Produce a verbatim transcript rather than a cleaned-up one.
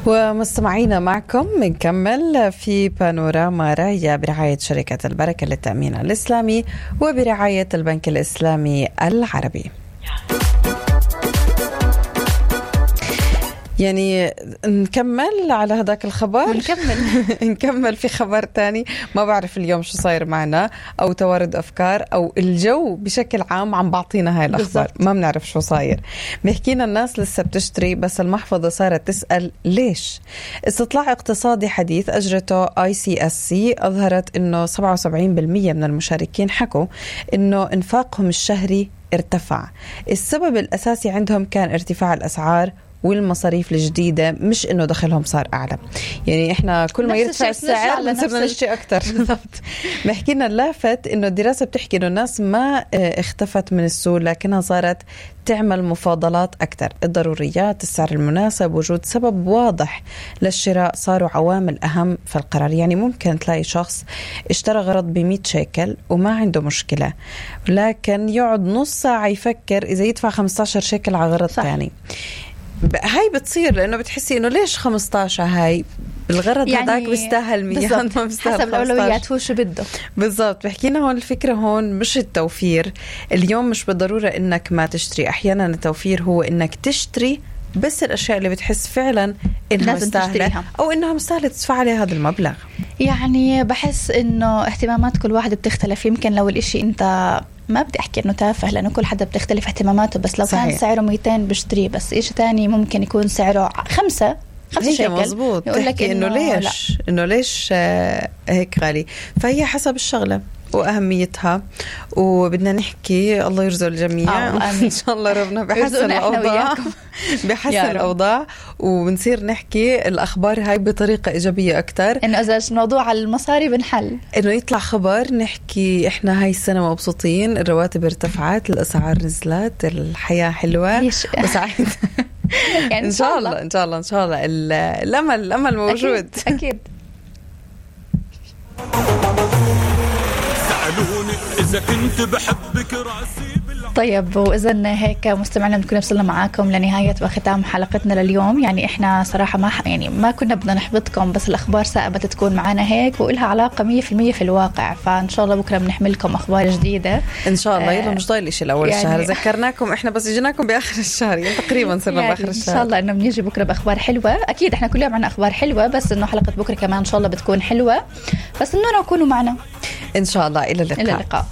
ومستمعينا معكم بنكمل في بانوراما رايا برعاية شركة البركة للتأمين الإسلامي وبرعاية البنك الإسلامي العربي. يعني نكمل على هذاك الخبر نكمل نكمل في خبر تاني. ما بعرف اليوم شو صاير معنا أو توارد أفكار أو الجو بشكل عام عم بعطينا هاي الأخبار بالزبط. ما بنعرف شو صاير. بيحكينا الناس لسه بتشتري بس المحفظة صارت تسأل ليش. استطلاع اقتصادي حديث أجرته آي سي إس سي أظهرت إنه سبعة وسبعين بالمية من المشاركين حكوا إنه إنفاقهم الشهري ارتفع. السبب الأساسي عندهم كان ارتفاع الأسعار والمصاريف الجديدة، مش إنه دخلهم صار أعلى. يعني إحنا كل ما يرتفع السعر بنصير نشتري أكتر. بحكينا اللافت إنه الدراسة بتحكي إنه الناس ما اختفت من السوق، لكنها صارت تعمل مفاضلات أكتر. الضروريات، السعر المناسب، وجود سبب واضح للشراء صاروا عوامل أهم في القرار. يعني ممكن تلاقي شخص اشترى غرض بمئة شيكل وما عنده مشكلة، لكن يقعد نص ساعة يفكر إذا يدفع خمسة عشر شيكل على غرض ثاني. هاي بتصير لأنه بتحسي إنه ليش خمسة عشر هاي الغرض يعني هداك بيستاهل مية ما بيستاهل حسب الأولويات هو شو بده بالضبط. بحكينا هون الفكرة هون مش التوفير. اليوم مش بالضرورة إنك ما تشتري، أحيانا التوفير هو إنك تشتري بس الأشياء اللي بتحس فعلا إنها مستاهلة أو إنها مستاهلة تدفع عليها هذا المبلغ. يعني بحس إنه اهتمامات كل واحد بتختلف. يمكن لو الإشي أنت ما بدي أحكي إنه تافه لأنه كل حدا بتختلف اهتماماته، بس لو صحيح. كان سعره مئتين بشتريه، بس إيش تاني ممكن يكون سعره خمسة خمسة شيكل. مزبوط. يقول لك إنه ليش إنه ليش آه هيك غالي. فهي حسب الشغلة وأهميتها، وبدنا نحكي الله يرزق الجميع إن شاء الله ربنا بحسن الأوضاع بحسن الأوضاع وبنصير نحكي الأخبار هاي بطريقة إيجابية أكتر. إنه إذا الموضوع على المصاري بنحل إنه يطلع خبر نحكي إحنا هاي السنة مبسوطين، الرواتب ارتفعت، الأسعار نزلت، الحياة حلوة وسعيد. يعني إن شاء الله إن شاء الله إن شاء الله الأمل الأمل موجود أكيد, أكيد. إذا كنت بحبك راسي. طيب وإذن هيك مستمعنا بنكون وصلنا معاكم لنهاية وختام حلقتنا لليوم. يعني إحنا صراحة ما يعني ما كنا بدنا نحبطكم، بس الأخبار سائبت تكون معنا هيك وإلها علاقة مية في المية في الواقع. فإن شاء الله بكرة بنحملكم أخبار جديدة إن شاء الله. يلا مش ضايل إشي الأول يعني الشهر، ذكرناكم إحنا بس جيناكم بآخر الشهر، يعني تقريبا صرنا يعني بآخر الشهر. إن شاء الله إنه بنيجي بكرة بأخبار حلوة. أكيد إحنا كل يوم عنا أخبار حلوة، بس إنه حلقة بكرة كمان إن شاء الله بتكون حلوة، بس إنه نكونوا معنا إن شاء الله. إلى اللقاء. إلى اللقاء.